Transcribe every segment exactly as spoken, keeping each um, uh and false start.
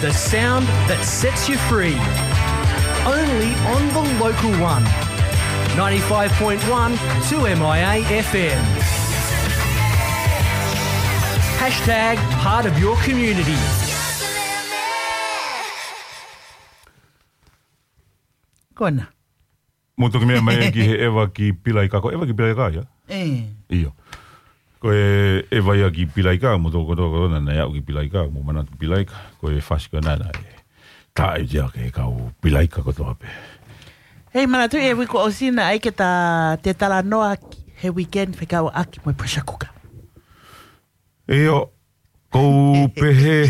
The sound that sets you free. Only on the local one. Ninety-five point one two M I A F M. Hashtag part of your community. Kona. Mo toki meʻa mai ki he ʻeva ki Pilaika, ko ʻeva ki Pilaika ia? E. Io. Ko e ʻeva ia ki Pilaika, mo toko toko na na ia ki Pilaika, mo mana ki Pilaika, ko e fasi ko na na e. Tā i tia ke kau Pilaika ko toa pe. Hei, mana tu e wiko o sina ai ke ta te tala noa he weekend fekau aki mo e pressure cooker. Io, kou pehe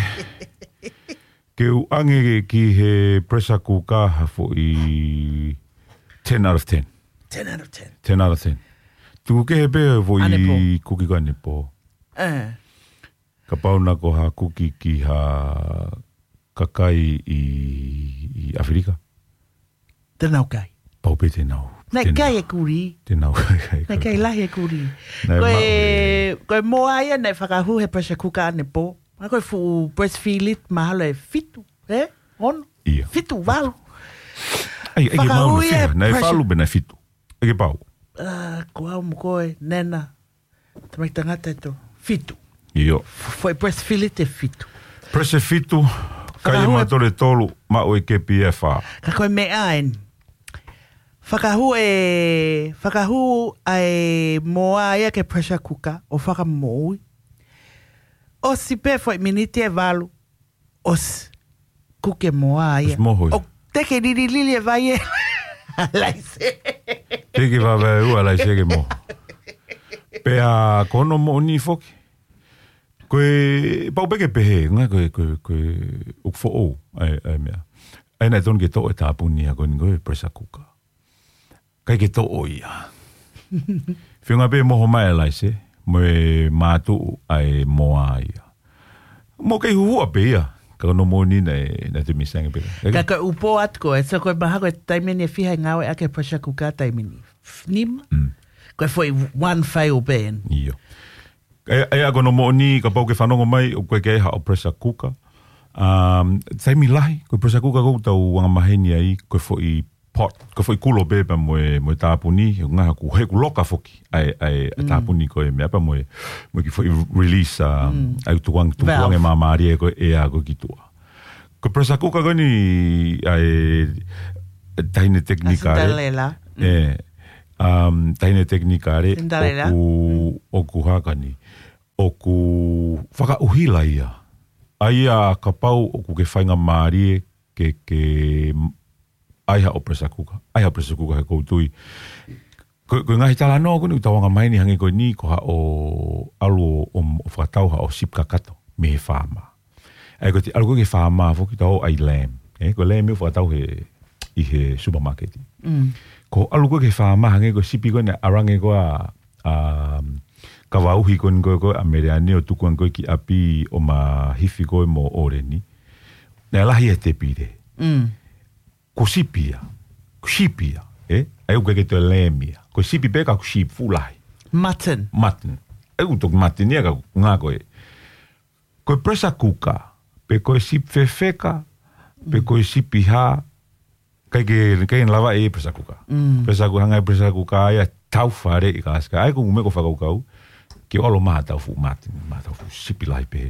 ke u ange ki he pressure cooker ha foʻi ten out of ten. ten out of ten. ten out of ten. Tuku kehe pē foʻi kuki ko ane pō. Uh. Ka pau na ko ha kuki ki ha kakai i, i Afirika. Te nau kai. Pau pē te nau. Nai kai e kuri. Te nau kai. Nai kai lahi e kuri. Ko e, ko e moa ia nai fakahu he pressure cooker ane pō. Ma ko e fu press fillet mahalo e fitu. E? Ono? Ia. Fitu valu. Ai, ai, ke mau na fia. Nai falu pe nai fitu. Ai ke pau. Ko au mo koe, nena. Tamai tangata e to. Fitu. Io. Foʻi press fillet e fitu. Press e fitu. Kai e matole tolu, maʻu e K P F a. Ka ko e meʻa eni. Fakahu e, fakahu ai moa ia ke pressure cooker, o fakamoui. O si pe foʻi miniti e valu, o si kuke moa ia. Moho ia. O te ke lili lili e vai e. Laise. Te ke vave ua laise ke moho. Pea kono moʻoni foki. Ko e pau peke pehe, nga ko e, ko e, ko e, uk fo o, ai, ai mea. Ai na e tonu ke toʻo e tāpuni a ko ni ko e pressure cooker. Kai ke toʻo ia. Whiunga pē moho mai a laise, mo e mātu ai moa ia. Mo kei huhua pē ia, ka no mo ni na e, na te misanga pē. Ka ka upo at ko, e so ko e maha ko e taimeni e fiha e ngau e ake pressure cooker taimeni. Nima. Mm. Ko e foi one fail pē. Io. E, e ako no mo ni ka pau ke whanongo mai, o koe ke ha o pressure cooker. Um, taimi lahi, ko pressure cooker ko tau wanga maheni ai, ko foi pot, ko foi kulo pē pea mo e, mo e tāpuni, he ngaha ku, he ku loka foki, ai, ai, mm. Tāpuni ko e mea pea mo e, mo e ki foi release, um, mm. Ai tukuang, tukuang e māmārie ko e a ko ki tua. Ko pressure cooker ko ni, ai, tahine teknikare. Cinderella. Mm. E, um, tahine teknikare. Cinderella. Oku, mm. Oku haka ni. Oku whakauhila ia. Ai a kapau oku ke whainga mārie ke, ke Ai ha o pressure cooker. Ai ha o pressure cooker he koutui. Ko, ko ngahi tala no, ko ni utawanga mai ni hange ko ni, ko ha o alu o, o, o whakatau ha o sip kakato, me he whāma. Ai ko te alu ko ke whāma, foki tau ai lamb. E, ko lamb me whakatau he, i he supermarket. Mm. Ko alu ko ke whāma hange ko sipi ko ne arange ko a, a, kavauhi ko ni ko, ko a mereani o tukuan ko ki api o ma hifi ko mo oreni. Ne lahi e te pire. Mm. Ko sipi ia. Ko sipi ia. E? Ai uke ke te lamb ia. Ko sipi pē ka ko sipi fulahi. Mutton. Mutton. Ai uto mutton ia ka ngā ko e. Ko e pressure cooker. Pe ko e sipi fefeka. Pe ko e sipi ha. Kai ke, kai lava e pressure cooker. Mm. Pressure cooker, hangai pressure cooker ia tau fare i ka aska. Ai ko me ko whakaukau. Ke olo maha tau fu mutton, maha tau fu sipi lahi pē.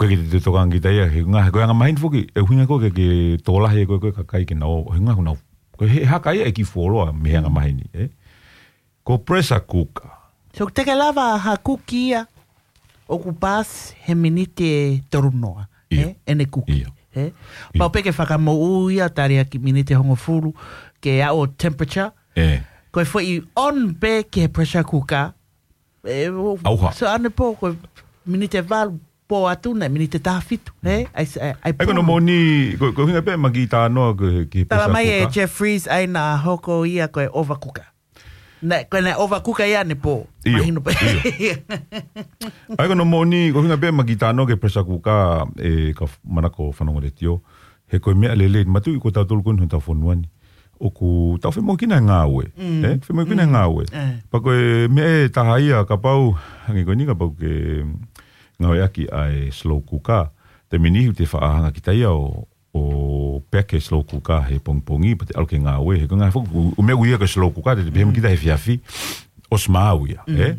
Ko e ki te tokanga ki taia, he nga, ko e anga mahini foki, e uhinga ko ke, ke tōlahi e ko e, ko e kakai ke nau, he nga ko nau, ko e he haka ia e ki foloa me he anga mahini, e? Ko pressure cooker. So te ke lava ha kuki ia, o ku pas he minite toru noa, e? Ene kuki, e? Pau pe ke whakamoʻu ia tari a ki minite hongofuru, ke a o temperature, ko e foʻi on pe ke he pressure cooker, E, o, Auha. So ane po, ko minite valu, po atu ne, minite tafitu, he? Ai, ai, ai, ai, kono mo ni, ko, ko hinga pe maki tānoa ko ki Tala mai e Jeffries, ai na hoko ia ko e overcooker. Ne, ko ne overcooker ia ne po. Io, mahino pe. Io. Ai kono mo ni, ko hinga pe maki tānoa ke pressure cooker, e, ka manako whanongo le tio. He ko e mea lele, matui ko tau tolu ko ni tau fonuani. Oku tau whemokina e ngāue. Mm. E? Whemokina e ngāue. Mm. Pako e mea e taha ia kapau, hangi ko ni kapau ke ngāue aki ai slow cooker. Taimi ni ʻoku te faʻa hanga kita ia ʻo, ʻo peke slow cooker he pongipongi, pea te ʻalu ke ngāue, he ko e ngaahi foʻi, ʻū meʻa ʻoku ʻi ai ko e slow cooker, te te pehē mai kita he efiafi, ʻosi maau ia, ē?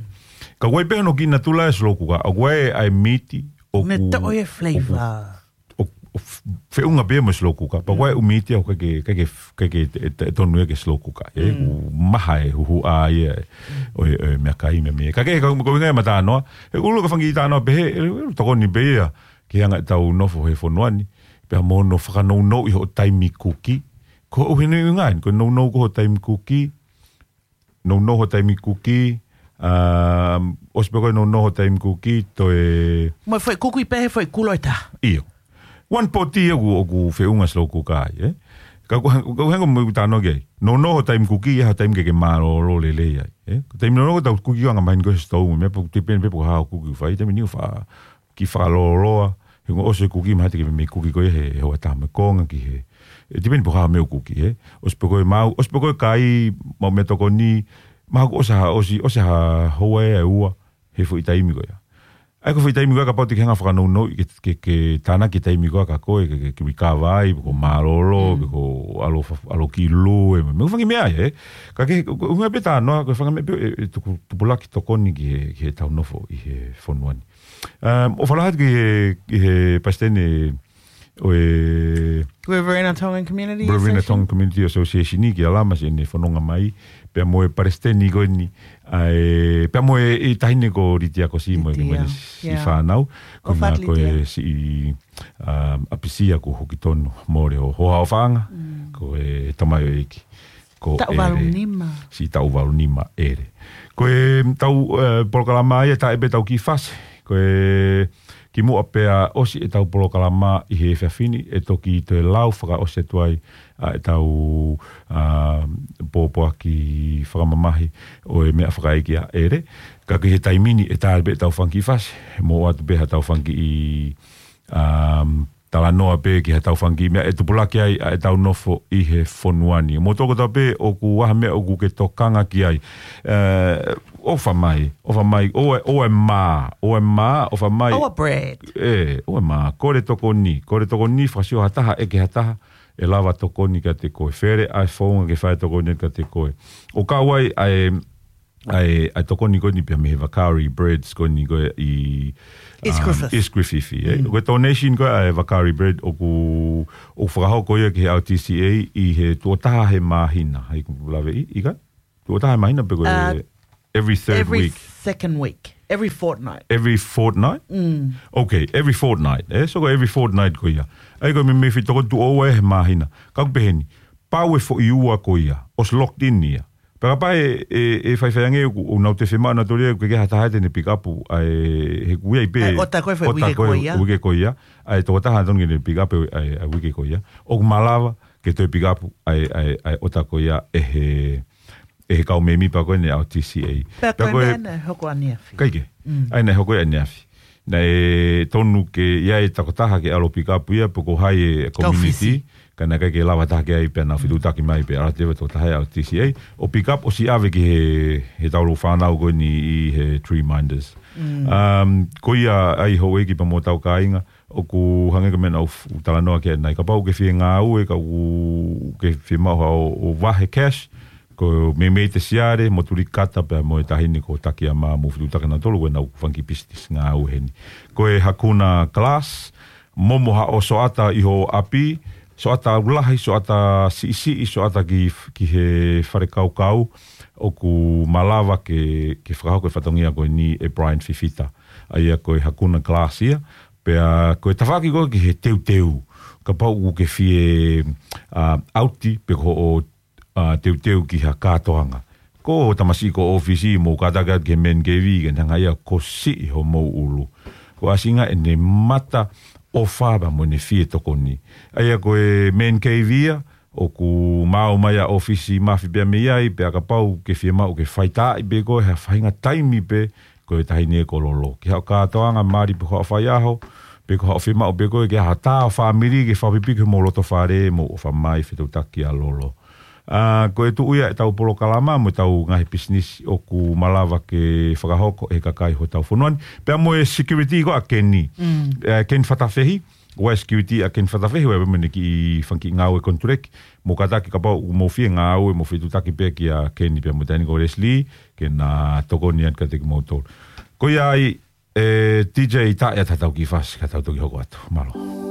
Ka ʻoku ʻi ai pē hono kiʻi natula e slow cooker, ʻoku ʻi ai ʻa e mīti, ʻoku, Ne toʻo e flavor. ʻoku, ʻoku f-, feʻunga pē mo e slow cooker, pea ʻoku ʻi ai ʻū mīti ʻoku ʻikai ke, ʻikai ke, ʻikai ke, ʻe, ʻe tonu ia ke slow cooker, ē? ʻOku maha e huhuʻa ia, ʻo e, ʻo e meʻakai meʻa meʻa. Ka ke, ka ko e ʻuhinga ia e matānoa, he ʻoku ʻi ai e fanga kiʻi talanoa pehē, ʻe, ʻe tokoni pē ia, ke hanga ʻetau nofo he fonua ni, pea mo hono fakanounouʻi hoʻo taimi kuki. Ko e ʻuhinga ia, ko e nounou ko hoʻo taimi kuki, nounou hoʻo taimi kuki, um, ʻosi pē ko e nounou hoʻo taimi kuki, toe Mo e foʻi kuki pē he foʻi kulo ʻe taha. ʻIo. One pot ia ʻoku, ʻoku feʻunga slow cooker ai, ē? Ka ko, ko e ʻuhinga mo e talanoa ki ai. Nounou hoʻo taimi kuki, ʻi ai ha taimi ke ke mālōlō lelei ai, ē? Ko e taimi nounou ko ʻetau kuki ʻoku angamaheni ko e stove, meʻa pē ʻoku tipeni pē pe ko e hā hoʻo kuki ʻoku fai, taimi ni ʻoku faʻa kiʻi fakalōloa, he ʻoku ʻosi e kuki, mahalo te ke meimei kuki ko ē he, he houa ʻe taha mo e konga ki he. ʻE tipeni pe ko e hā e meʻa ʻoku kuki, ē. ʻOsi pē ko e maau, ʻosi pē ko e kai, maʻu meʻatokoni, mahalo kuo ʻosi ha, ʻosi, ʻosi ha houa ʻe ua, he foʻi taimi ko ia. ʻA ia ko e foʻi taimi ko ia kapau te ke hanga ʻo fakanounouʻi ke, ke, ke tānaki e taimi ko ia kia koe, ke, ke, ke recover ai, pe ko e mālōlō, pe ko e ʻalu fa-, ʻalu ki lue, mo e fanga kiʻi meʻa ia, ē. Ka ke, ko, ko e ʻuhinga pē e talanoa, ko e fanga meʻa pē, ʻe, ʻe tuku, tupulaki tokoni ki he, ki heʻetau nofo ʻi he fonua ni. Um, ʻofa lahi atu ki he, ki he palesiteni ʻo e Riverina Tongan Community Riverina Association? Tongan Community Association ni ki a Lamas ʻene fononga mai, pea mo e palesiteni ko eni, ʻa e, pea mo e, e taʻahine ko Litia Kosi mo e, Litia, mo ʻene siʻi, yeah, fānau, ko ʻOfa atu, ko e Litia. Siʻi, um, ʻapisia kuo hoki tonu mole ho, hoʻo faʻahinga, ko e tamaioʻeiki. Ko Taʻu ʻEle. Valu nima. Siʻi Taʻu Valu nima ʻEle. Ko ʻetau, eh, polokalama ia, tā ʻe pē ʻetau kiʻi fasi. Ko e kimuʻa pea ʻosi ʻetau polokalama ʻi he efiafi ni, ʻe toki toe lau fakaʻosi atu ai ʻa ʻetau, ah, pōpoaki fakamamahi ʻo e meʻa fakaʻeiki ʻa ʻEle. Ka ki he taimi ni ʻe tā ʻe pē ʻetau fanga kiʻi fasi. Mo ʻoatu pē haʻatau fanga kiʻi, um, talanoa pē ki haʻatau fanga kiʻi meʻa ʻe tupulaki ai ʻa ʻetau nofo ʻi he fonua ni. Mo toko tau pē ʻoku ʻi ai ha meʻa ʻoku ke tokanga ki ai. Eh, ʻofa mai, ʻofa mai, ʻoua, ʻoua ʻe mā, ʻoua ʻe mā, ʻofa mai. ʻOua ʻe bread. ʻE, ʻoua ʻe mā, kole tokoni, kole tokoni, fakasio ha taha, ʻeke ha taha, ʻe lava tokoni kiate koe. Fele ʻa e founga ke fai tokoni kiate koe. ʻO kau ai, ʻa e, ʻa e, ʻa e tokoni ko eni pea mei he Vakari Breads ko eni ko ē ʻi, East um, Griffith. East Griffith, ē. Mm. Ko e donation ko ē ʻa e Vakari Bread ʻoku, ʻoku fakahoko ia ki he R T C A ʻi he tuʻo taha he māhina. Hai ku lave ʻi, ʻikai? Tuʻo taha he māhina pe ko e Uh, every third every week? Second week. Every fortnight. Every fortnight? Mm. Okay, every fortnight, ē? So ko every fortnight ko ia. ʻA ia ko e meimei foʻi tokoni tuʻo ua he māhina. Ka ʻoku pehē ni, pau e foʻi ua ko ia, ʻosi locked in ia. Pea kapau ʻe, ʻe, ʻe faifai ange ʻoku, ʻoku nau toe fiemaʻu nautolu ia, ʻoku ʻikai ha taha te ne pick up, ʻa e, he ʻoku ʻi ai pē ʻa e ʻota ko ē foʻi ʻota uike ko ē, ko ia. Uike ko ia. ʻA e tokotaha ʻe tonu ke ne pick up ʻa e, ʻa e uike ko ia. ʻOku malava ke toe pick up ʻa e, ʻa e, ʻa e ʻota ko ia ʻe he, ʻe he kau mēmipa ko eni ʻa e R T C A. Pea Pea ko e ko e meʻa naʻe hoko ʻaneafi. Kae kehe. Mm. ʻA ia naʻe hoko ʻaneafi. Naʻe tonu ke ʻi ai e tokotaha ke ʻalu ʻo pick up ia pe ko hai e Kau community. Fisi. Ka naʻe ʻikai ke lava taha ki ai pea nau fetuʻutaki mai pea ʻalu atu e tokotaha ia ʻa e R T C A. ʻO pick up ʻosi ʻave ki he, he taulou fānau ko eni ʻi he Tree Minders. Mm. Um, ko ia ai houʻeiki pea mo hotau kāinga, ʻoku hangē ko e meʻa naʻa ku f-, talanoa ki ai ʻanenai. Kapau ʻoku ke fie ngāue, ka ʻoku ke fiemaʻu haʻo, ʻo vahe cash, ko e meimei Tesiare, mo Tulikata pea mo e taʻahine ko Takiama mo fetuʻutaki nautolu, ko ʻenau fanga kiʻi business ngāue heni. Ko e Hakuna Glass, momo haʻo soata ʻi ho ʻapi, soata ʻaulahi, soata siʻisiʻi, soata ki, ki he fale kaukau, ʻoku malava ke, ke fakahoko e fatongia ko eni ʻe Brian Fifita. ʻA ia ko e Hakuna Glass ia, pea ko e tafaʻaki ko ē ki he teuteu, kapau ʻoku ke fie, ah, ʻauti, pe ko hoʻo, ah, teuteu ki ha kātoanga. Ko e tamasiʻi ko ē ʻōfisi mo kātaki atu ki he Man Cave ke ne hanga ia ʻo siʻi homou ʻulu. Ko e ʻasinga ʻene mata ʻofa pea mo ʻene fie tokoni. ʻA ia ko e Man Cave ia, ʻoku maau mai ʻa e ʻōfisi Mafi pea mei ai, pea kapau ʻoku ke fiemaʻu ke faitāʻi pē ko e ha faʻahinga taimi pē, ko e taʻahine ko Lolo. Ki haʻo kātoanga mali pe ko haʻo faiʻaho, pe ko haʻo fiemaʻu pē ko ē ke ʻi ai ha tā ʻo e fāmili ke fakapipiki homou loto fale mo ʻofa mai fetuʻutaki ʻa Lolo. Ah, ko e tuʻu ia ʻetau polokalama mo ʻetau ngaahi business ʻoku malava ke fakahoko ʻe he kakai hotau fonua ni. Pea mo e security ko ē ʻa Keni. Mm. Eh, Keni Fatafehi, West Q T ʻa Keni Fatafehi, ʻoku ʻi ai pē mo ʻene kiʻi fanga kiʻi ngāue konituleki. Mou kātaki kapau ʻoku mou fie ngāue, mou fie tutaki pē kia Keni pea mo Taini ko Leslie, ke na tokoni atu kiate kimoutolu. Ko ia ai, ʻe, D J, tā ʻe ʻatā ʻetau kiʻi fasi, ka tau toki hoko atu. Mālō.